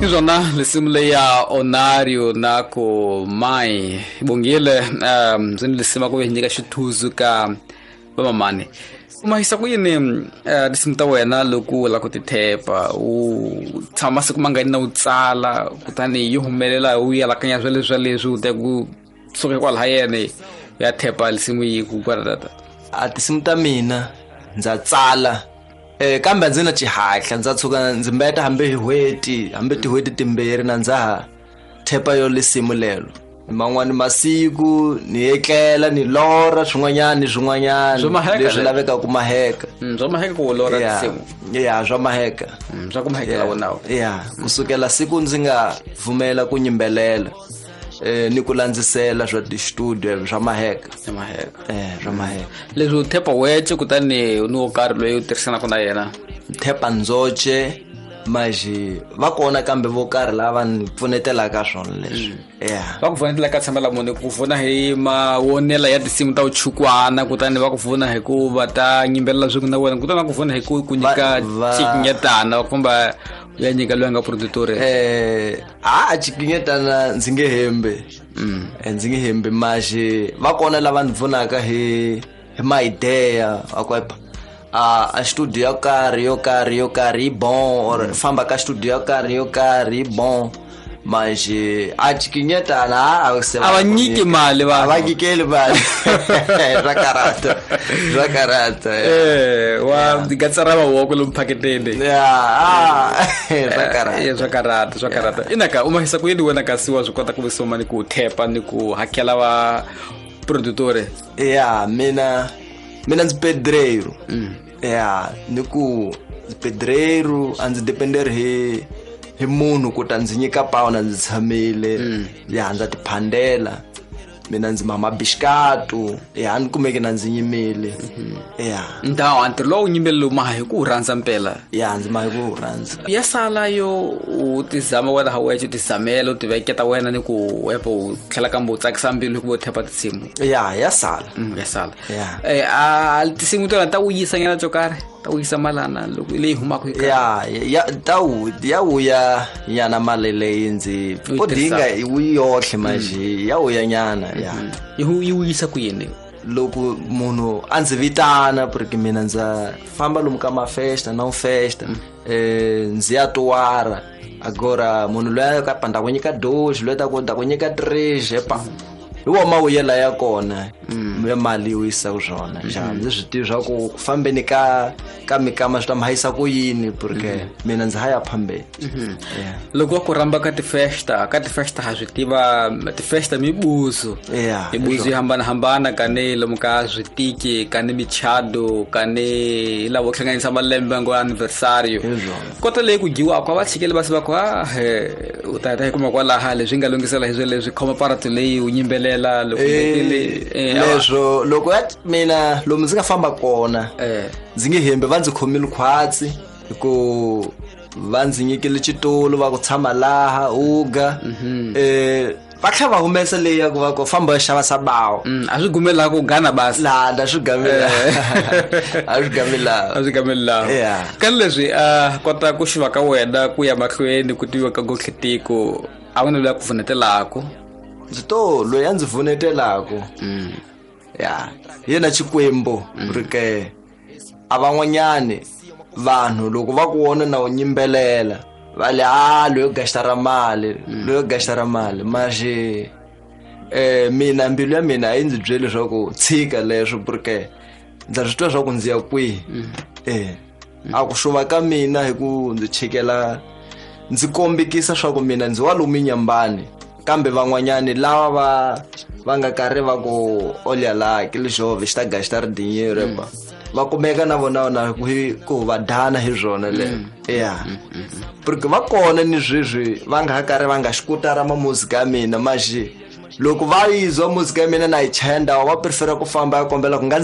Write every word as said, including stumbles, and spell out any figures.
Izona lesimu leya Onario na ku mai bongile um zini lesima ku nyika xithuzu ka vamamani. Uma hisa ku yini tinsimu ta wena loko u lava ku ti thepa u tshama masiku mangani na u tsala kutani yi humelela u yalakanya swa leswi swa leswi u ta ku suka kwalaha yene ya thepa lesimu yi ku kwalatata. A tinsimu ta mina ndza tsala eh kambe ndzi na xihatla ndza tshuka ndzi mbeta hambi hi hweti hambi tihweti timbirhi na ndza ha thepa yo lesimu lelo. Man'wani masiku ni etlela ni lorha swin'wanyani swin'wanyani leswi lavekaka ku maheka. Swa maheka ku lorha tinsimu. Ya swa maheka. Swa ku mahekela wona. Ya kusukela siku ndzi nga pfumela ku nyimbelela eh ni ku landzisela swa ti-studio swa maheka. Swa maheka. Eh swa maheka. Leswi u thepa weche kutani ni wo karhi loyi u tirhisanaka na yena. Thepa ndzoche maji va kona kambe vo karhi lava ni pfunetelaka swona leswi. Yeah. Va ku pfunetela ka tshamela munhu ku pfuna hi mawonela ya tinsimu ta uchukwana kutani va ku pfuna hi ku va ta nyimbelela swin'we na wena kutani va ku pfuna hi ku ku nyika xikinyetana va kumba ya nyika loyi a nga produtor. Eh a xikinyetana ndzi nge hembe. Ndzi nge hembe maji va kona lava ni pfunaka hi hi ma-idea va ku a a studio yo karhi yo karhi yo karhi bon or famba ka studio yo karhi yo karhi bon manje a xikinyetana a a va nyiki mali va va nyikeli mali swa karata swa karata eh wa gatsara mavoko lomu phaketeni ya ah swa karata swa karata swa karata inaka uma hisa ku yini wena kasi wa swi kota ku visoma ni ku thepa ni ku hakela va produtore. Ya mina mina ndzi pedreiro. Ya ni ku pedreiro a ndzi dependeri hi hi munhu ku ta ndzi nyika pawu na ndzi tshamile. Ya ndza tiphandela mina ndzi mama bishkatu ya ni kumeke na ndzi nyimile. Ya ndhawu ntirho lowu nyimbelelo ma hi ku rhandza mpela. Ya ndzi ma hi ku rhandza. Ya sala yo u tizama wena ha weche u tizamela u tiveketa wena ni ku epo u tlhela kambe u tsakisa mbilu ku vo thepa tinsimu. Ya ya sala. Ya sala. Ya eh a tinsimu tona ta wuyisa nyana to karhi ta wuyisa malana loko leyi humaka hi ya ya ta wu ya wuya nyana mali leyi ndzi odinga yi yohle manje ya wuya nyana. Ya yi wuyisa ku yini loko munhu a ndzi vitana porque mina ndza famba lomu ka mafesta na festa eh ndzi ya tuwara agora munhu loyi ka panda ku nyika dois loyi ta ku ta ku nyika três epa hi wona mawuyela ya kona ya mali yi wuyisaka swona xa ndzi swi tivi swa ku ku fambeni ka ka mikama swi ta mi hayisa ku yini porque mina ndzi haya phambeni. Loko wa ku rhamba ka tifesta ka tifesta ha swi tiva tifesta mibuzo mibuzo yo hambanahambana kani lomu ka switiki kani michado kani lavo hlanganisa malembe ngo anniversario kota leyi ku dyiwaka a va tshikeli va se va ku a u ta ta hi kuma kwalaha leswi nga lunghisela hi swo leswi khoma paratu leyi u nyimbelela loko leswo loko ya mina lomu ndzi nga famba kona ndzi nge hembe va ndzi khomile khwatsi hi ku va ndzi nyikile xitulu va ku tshama laha uga eh va tlhela va humesa leyi ya ku va ku famba xava sabawo. A swi gumela ku gana basi la da swi gamela a swi gamela a swi gamela. Ka leswi a kota ku xiva ka wena ku ya mahlweni ku tiviwa ka gohlitiko a wu na loyi a ku pfunetelaka. Ndzi to loyi a ndzi pfunetelaka ya yena Xikwembu porque a van'wanyani vanhu loko va ku vona na u nyimbelela va le a loyo gastara mali loyo gastara mali manje eh mina mbilu ya mina a yi ndzi byeli leswaku tshika leswo porque ndza swi twa swa ku ndzi ya kwihi. Eh a ku xuva ka mina hi ku ndzi chikela ndzi kombekisa swa ku mina ndzi wa lomu nyambani kambe van'wanyani lava va va nga karhi va ku olha la ke lexove xi ta gastar dinheiro epa va kumeka na vona na ku ku va dana hi swona le. Ya porque va kona ni sweswi va nga ha karhi va nga xikutara ma muzika ya mina manje loko va yizwa muzika ya mina na yi chenda va prefera ku famba ya kombela ku nga ndzi